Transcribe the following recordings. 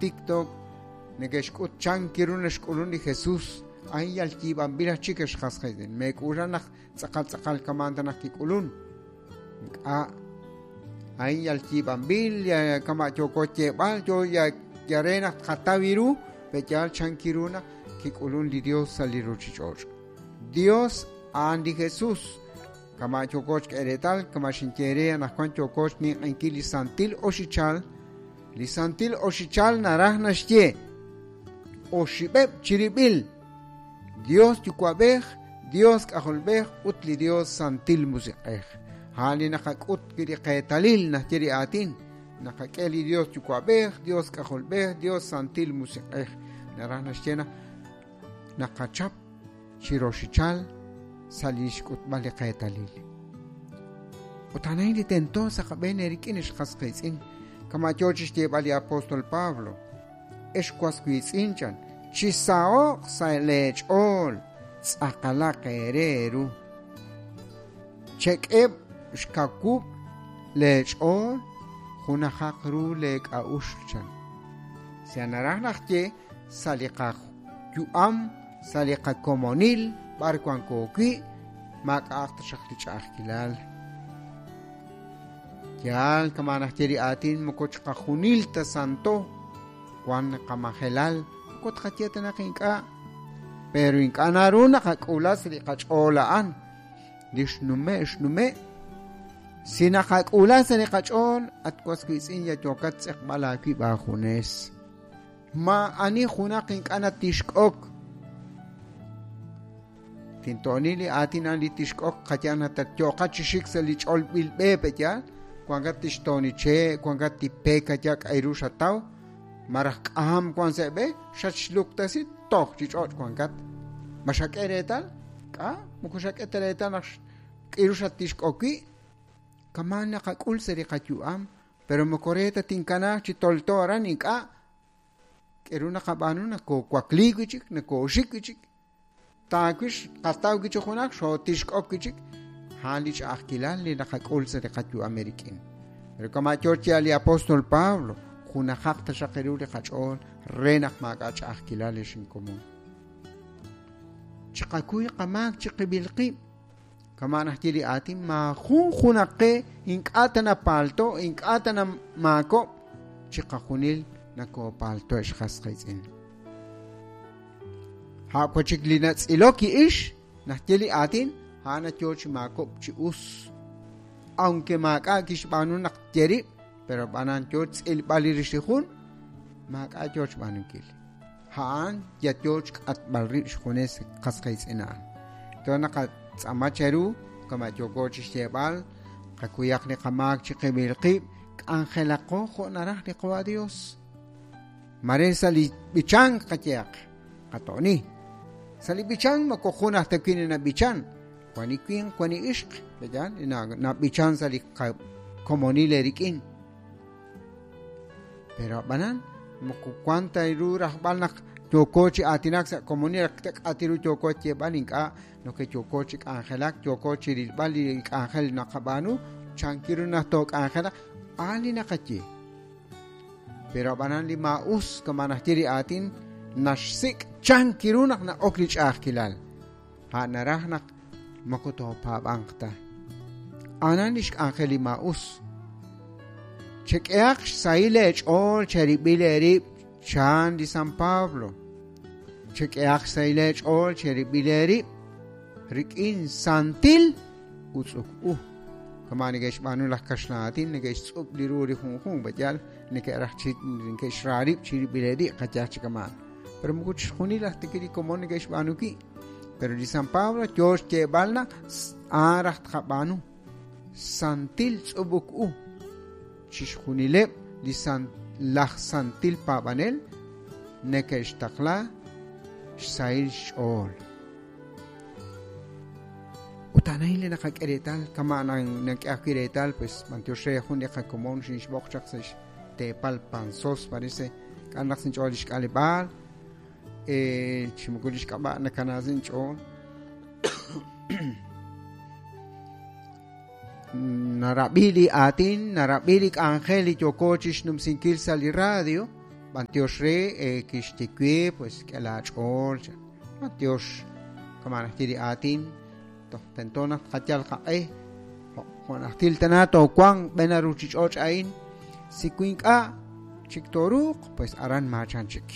TikTok neke'xk'ut chan kiru naxk'ulun li Jesús a'in yal yiib'anb'il aj chik ex qas qiitz'in meek'uula naq tz'aqal tz'aqal kamaan ta naq kik'ulun ink'a' a'in yal yiib'anb'il kama' yooko yeeb'al yo ya re naq tqataw ru pe'yaal chan kiru naq kik'ulun li Dios sa' li ruuchich'och'. Dios a'an li Jesús. Kama' yooko xk'e reetal, kama' xinye re anaqwan yooko xninq'ehinkil li santil oxichal. Li santil oxichal naraj naxye oxib'eb' chirib'il Dios Yuwa'b'ej, Dios K'ajolb'ej ut li Dios Santil Musiq'ej. A'an li naqak'ut wi' li qeetalil naxye li aatin. Naqak'e li Dios Yuwa'b'ej, Dios K'ajolb'ej, Dios Santil Musiq'ej. Naraj naxye naq naqachap chi roxichal sa' li xk'utb'al li qeetalil. Ut a'an li tento sa' qab'een eerik'in ex qas qiitz'in, kama' yoo chi xyeeb'al li apóstol Pablo. Ex was wiitz'in chan, chisaho'q sa' leech'ool, tz'aqalaq eere eeru. Chek'eb' xkawub' leech'ool, junajaq ru leek'a'uxl chan. Sa naraj naq ye sa' li qayu'am, sa' li qakomonil, b'ar wanko wi', maak'a'aq taxaq li ch'a'ajkilal. Yaal kama' naxye li aatin moko chiqajunil ta santo, wan qamajelal, moko tqaye ta naq ink'a', pero ink'a' naru naqak'uula sa' li qach'ool a'an. Li xnume' xnume', si naqak'uula sa' li qach'ool, at was wiitz'in ya yookat tz'eqb'al aawib' aajunes. Maa'ani junaq ink'a' natixk'ok. Tinto'oni li aatin a'an li tixk'ok qayal natatyo'qa chi xik sa' li ch'olb'il b'e pe'yaal, wankat tixto'oni che', wankat tipek aya k'ayru xataw, maraj k'aham wan sa' b'e, xatxluktasi toj chi ch'och' wankat. Ma xak'e reetal? K'a, moko xak'e ta reetal naq k'iru xatixk'ok wi', kama' naqak'ul sa' li qayu'am, pero moko re ta tinkanaaq chi tolto aran ink'a'. K'eru naqab'aanu nakoowakliik wi' chik, nakooxik wi' chik. Taawix qataw wi' chik junaq, xootixk'ok wi' chik. A'an li ch'a'ajkilal li naqak'ul sa' li qayu'am eerik'in. Pero kama' yoo chi li apóstol Pablo, junajaq taxaq ru li qach'ool re naq maak'a' ch'a'ajkilal ex inkomon. Chiqakuy qamaak chiqib'il qib'. Kama' naxye li aatin, maajun junaq qe ink'a' ta napaalto, ink'a' ta namaakok', chiqajunil nakoopaalto ex qas qiitz'in. A' wachik li natz'ilok ix, naxye li aatin, a'an yo chi maakob' chi us. Aunque maak'a' kixb'aanu naq tye rib', pero b'anan yo tz'ilb'al li rix li jun, maak'a' yo xb'aanunkil. A'an ya yo xk'atb'al rib' xjunes qas qiitz'in a'an. To naqatz'aama cheru, kama' yooko chi xyeeb'al, qakuyaq li qamaak chiqib'il qib', k'anjelaqo jo' naraj li Qawa' Dios. Mare sa' li b'ichank qayehaq, qato'ni. Sa' li b'ichank moko jun aj ta wi' nab'ichan, wan li winq, wan li ixq, pe'yaal, nab'ichan sa' li qakomonil eerik'in. Pero ab'anan, moko wan ta ru rajb'al naq yooko chi aatinak sa' komonil, k'ati ru yooko xyeeb'al ink'a' noke yooko chi k'anjelak, yooko chi rilb'al li k'anjel naqab'aanu, chanki ru naq took'anjelaq, a'an li naqaye. Pero ab'anan li maa'us kama' naxye li aatin, naxsik' chanki ru naq na'ok li ch'a'ajkilal. A'an naraj naq moko toopaab'anq ta. A'anan li xk'anjel li maa'us. Chek'ehaq xsahil eech'ool cherib'il eerib' chan li San Pablo. Chek'ehaq xsahil eech'ool cherib'il eerib' rik'in santil utz'uk u. Kama' neke'xb'aanu laj kaxlan aatin, neke'xtz'ub' li ru li junjunq, pe'yaal neke'raj chi neke'xra rib' chirib'il eerib' qayehaq chi kama'an. Pero moko chixjunil aj ta li komon neke'xb'aanu wi'. Pero li San Pablo yo xyeeb'al naq a'an raj tqab'aanu. Santil tz'ub'uk u. Chixjunileb' li laj santil paab'anel neke'xtaqla xsahil xch'ool. Ut a'an a'in li naqak'e reetal, kama' nak'e ajwi' reetal, pues b'antiox re jun li qakomon xinxb'oq chaq sa' xteepal Panzós, parece, k'an naq sinch'ool li xk'aleb'aal, chi moko li xk'ab'a' nakana sinch'ool. Narab'i li aatin, narab'i li k'anjel li yooko chixnumsinkil sa' li radio. B'antiox re kixye we, pues k'e laach'ool chan. B'antiox, kama' naxye li aatin, toj tento naq tqayal qaq'e, jo' najtil tana toowanq b'en a ruuchich'och' a'in, si wi ink'a' chik tooruuq, pues aran maachan chik.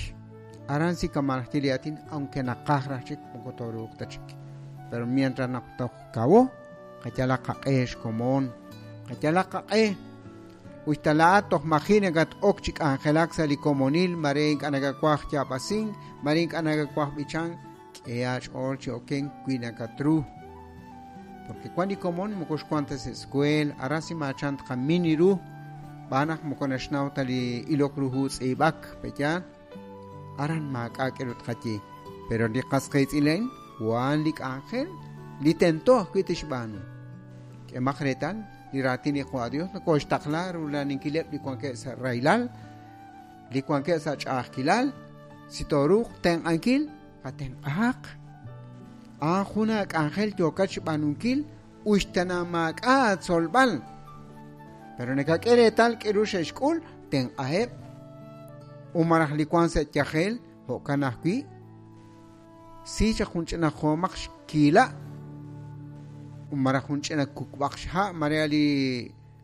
Aran si kama' naxye li aatin, aunque naqaj raj chik, moko tooruuq ta chik. Pero mientras naq toj kawo, qayalaq qaq'e xkomon, qayalaq qaq'e. Uy ta laa'at toj maji' nakat-ok chi k'anjelak sa' li komonil, mare ink'a' nakawaj yaab'asink, mare ink'a' nakawaj b'ichank, k'e aach'ool chi okenk wi nakatru. Porque wan li komon moko xwank ta sa' escuela, aran si maachan tqamin ru, xb'aan naq moko naxnaw ta li ilok ru hu tz'iib'ak, pe'yaal? Aran maak'a' k'aru tqaye. Pero li qas qiitz'in a'in wan li k'anjel li tento ajwi' tixb'aanu. K'emaq reetal li raatin li Qaawa' Dios nokooxtaqla rula'aninkileb' li wankeb' sa' rahilal, li wankeb' sa' ch'a'ajkilal, si tooruuq tenq'ankil, qatenq'ahaq. A'an jun aak'anjel yookat xb'aanunkil uxtana maak'a' aatzolb'al. Pero nakak'e reetal k'aru xe'xk'ul, tenq'aheb'. U malaj li wank sa' yajel, jo'kan ajwi'. Si chaq jun ch'ina joomaq xkiila' u malaj jun ch'ina kukb'aq xha' mare li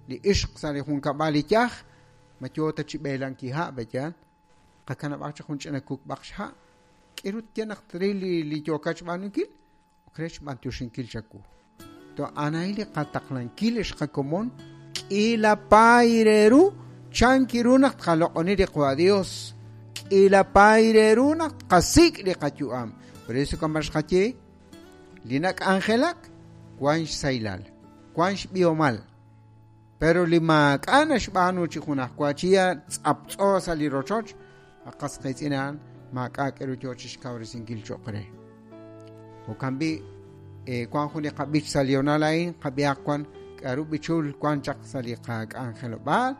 li ixq sa' li junkab'al li yaj, ma yoo ta chi b'eelanki ha' pe'yaal? Qakanab'aq chaq jun ch'ina kukb'aq xha'. K'aru tye naq tril li li yookat xb'aanunkil? Ok re xb'antioxinkil chawu. To a'an li qataqlankil ex qakomon k'iila paay re ru chan ru naq tqaloq'oni li Qaawa' Dios. K'iila paay re ru naq tqasik' li qayu'am. Por eso kama xqaye li nak'anjelak wan xsahilal, wan xb'ihomal. Pero li maak'a' naxb'aanu chi junajwa chi ya tz'aptz'o sa' li rochoch, qas qiitz'in a'an maak'a' k'aru yoo chixkawresinkil cho'q re. Jo'kan b'i' wan jun li qab'ich sa' li honal a'in, qab'ihaq wan k'aru b'ichul wan chaq sa' li qak'anjelob'aal.